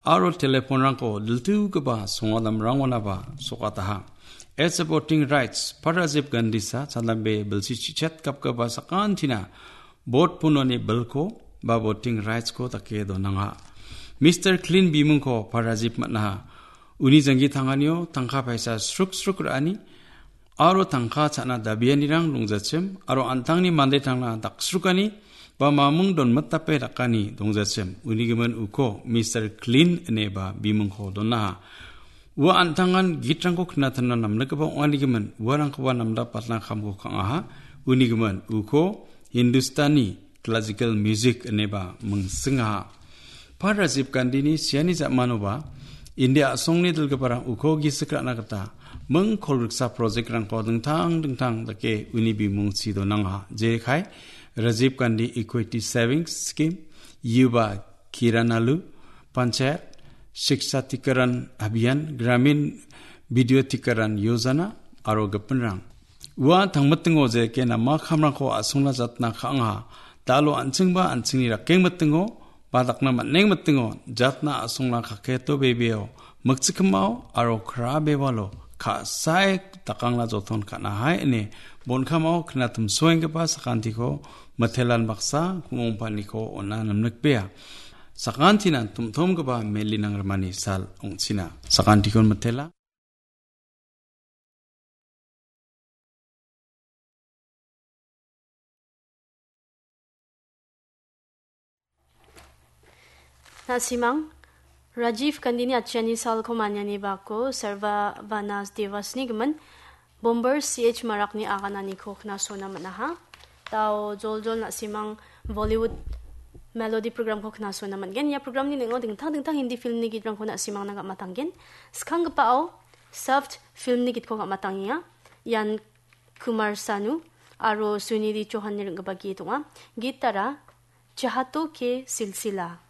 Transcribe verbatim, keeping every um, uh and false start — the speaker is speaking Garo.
aro teleponrangko diltugipa songadamrangonaba sokataha. As a voting rights, Parajib Gandhisa chadambe bilsi chichet gapgipa sakantina bot punoni bilko ba voting rights-ko dake donanga. Mister Clean bimungko Parajib man·aha. Uni janggi tanganio tangka paisa sruk sruk ra·ani aro tangka cha·na dabianirang dongjachim aro an·tangni mande tangna daksrukani ba mamung donmitape dakani dongjachim. Uni gimin uko Mister Clean ineba bimungko donaha. Ua an·tangan gitrangko knatanna namnikgipa ong·anigimin uarangkoba namdapatna kamko ka·aha. Unigimin uko Hindustani classical music ineba mingsingaha. Par Rajiv Gandhini siani ja·manoba India a·songni dilgiparang uko gisik ra·na gita ming kolgriksa project-rangko dingtang dingtang dake uni bimungchi donangaha. Jekai Rajiv Gandhi Equity Savings Scheme, Yuva Kiran Alu, Panchayat Shiksha Tikaran Abhiyan, Gramin Vidyutikaran Yojana, aro gipinrang. Ua tangmitingo jeke nama kamrangko a·songna jatna ka·angaha. Dalo an·chingba an·chingni rakeng mitingo, ba dakna man·eng mitingo, jatna a·songna kaketo bebeo, mikchikimao, aro kra bewalo, ka·sae dakangna joton ka·nahai ine, bonkamao knatimsoenggipa sakantiko, mitelan baksa, kumongpaniko ona namnikbea. Sakantinan tumtumgipa melinang rimani sal ong·china. Sakantikon mitela. Na·simang, Rajiv Gandhini atchiani salko maniani bako Sarva Vanas Devasni gimin Bomber C H Marakni agananiko knasona man·aha. Dao joljol na·simang Bollywood melody programko knasona man·gen. Ia programni ning·o dingtang dingtang Hindi filmni gitrangko na·simangna gam·atanggen. Skanggipao Soft filmni gitko gam·atangenga. Ian Kumar Sanu aro Sunidhi Chauhanni ring·gipa git ong·a. Gitara Chahato Ke Silsila.